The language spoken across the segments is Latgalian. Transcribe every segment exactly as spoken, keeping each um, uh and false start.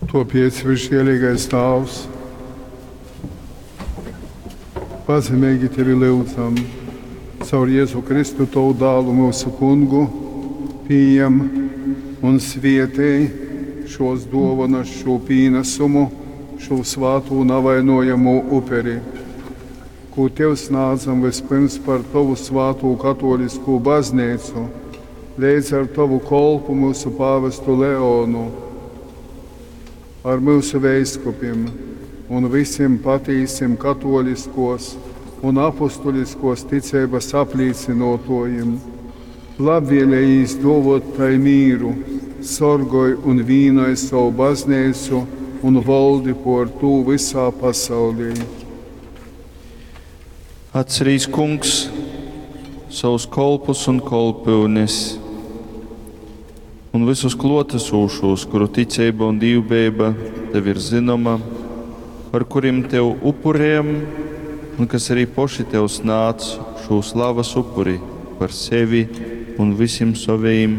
Tuopiec, visžielīgais Tāvs, pazemeigi Tevi lyudzam, caur Jezu Kristu, Tovu dālu, myusu Kungu, pījem un svietej šos duovanas, šū pīnasumu, šū svātū navainojamū uperi, kū Tev snādzam vyspyrms par Tovu svātū katōliskū bazneicu, leidz ar Tovu kolpu myusu pāvestu Leonu, ar myusu veiskupim un vysim patīsim katōliskōs un apustuliskōs ticeibas aplīcynōtōjim. Labvēlejīs dōvōt tai mīru, sorgoj un vīnoj sovu bazneicu un voldi pōr tū vysā pasaulī. Atcerīs, Kungs, savus kolpus un kolpyunes un visus klōtesūšos, kuru ticeiba un dīvbeiba tev ir zynoma, par kurim tev upurējam un kas arī poši tev snādz šū slavas upuri par sevi un vysim sovejim,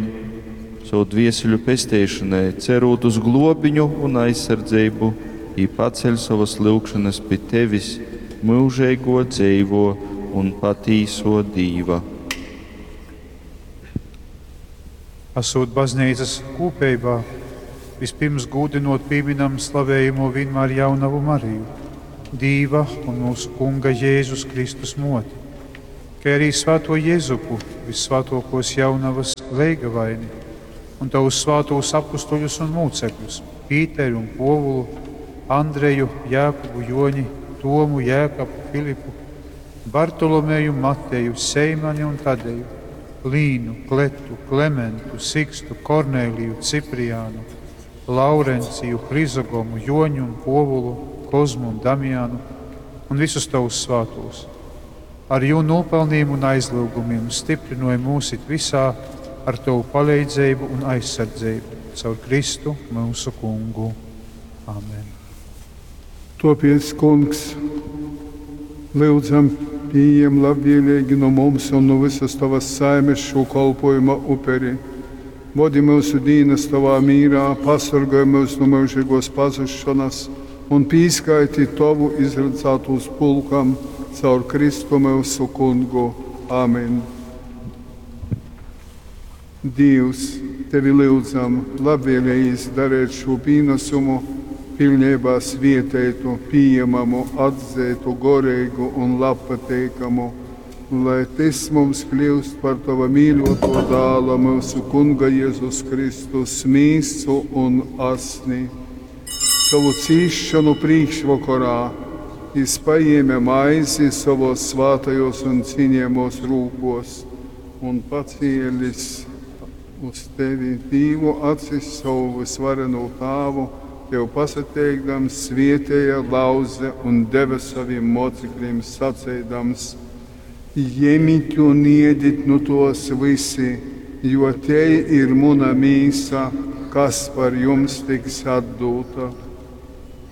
savu dvieseļu pesteišonai, cerūt uz globiņu un aizsardzeibu, i paceļ sovas lyugšanas pi tevis, myužeigo dzeivo un patīso Dīva. Esot bazneicas kūpeibā, vispirms gūdinot pīminam slavējamo vienmēr jaunavu Mariju, Dīva un mūsu Kunga Jēzus Kristus moti, kā arī svēto Jēzupu, vissvētokos jaunavas leigavaini, un tavus svātos apustuļus un mūcekļus, Pīteru un Povulu, Andreju, Jākubu, Joņi, Tomu, Jēkabu, Filipu, Bartolomeju, Mateju, Seimani un Tadeju, Līnu, Kletu, Klementu, Sikstu, Korneliju, Cipriānu, Laurenciju, Hrizogomu, Joņu un Povulu, Kozmu un Damianu un visus tavus svātos. Ar jū nopelniem un aizlūgumiem stiprinoja mūs it visā ar tavu palīdzību un aizsardzību caur Kristu mūsu Kungu. Amen. Topiec, Kungs, lyudzam, pījem labvēlīgi no mums un no visas tavas saimes šo kolpojuma uperi. Vodi mūsu dīnas tavā mīrā, pasargāj mūs no mūžīgos pazušanas un pīskaiti tavu izredzētos pulkam caur Kristu mūsu Kungu. Amen. Dievs, tevi lyudzam, labvēlējīs darēt šo pīnesumu, pilnībā svietētu, pieejamamu, atzītu, gorīgu un labpateikamu, lai tas mums kļūst par tava mīļoto dāla, mūsu Kunga Jēzus Kristus mīsu un asni. Savu cīšanu priekšvakarā jis paēma maizi savos svātajos un cienījamos rūkos un pacielis uz tevi Dīvu acis savu visvareno tāvu, tev pasateikdams, svietēja, lauze un deva saviem mocekļiem sacēdams: Jemit un iedit nu tos visi, jo te ir muna mīsa, kas par jums tiks atdūta.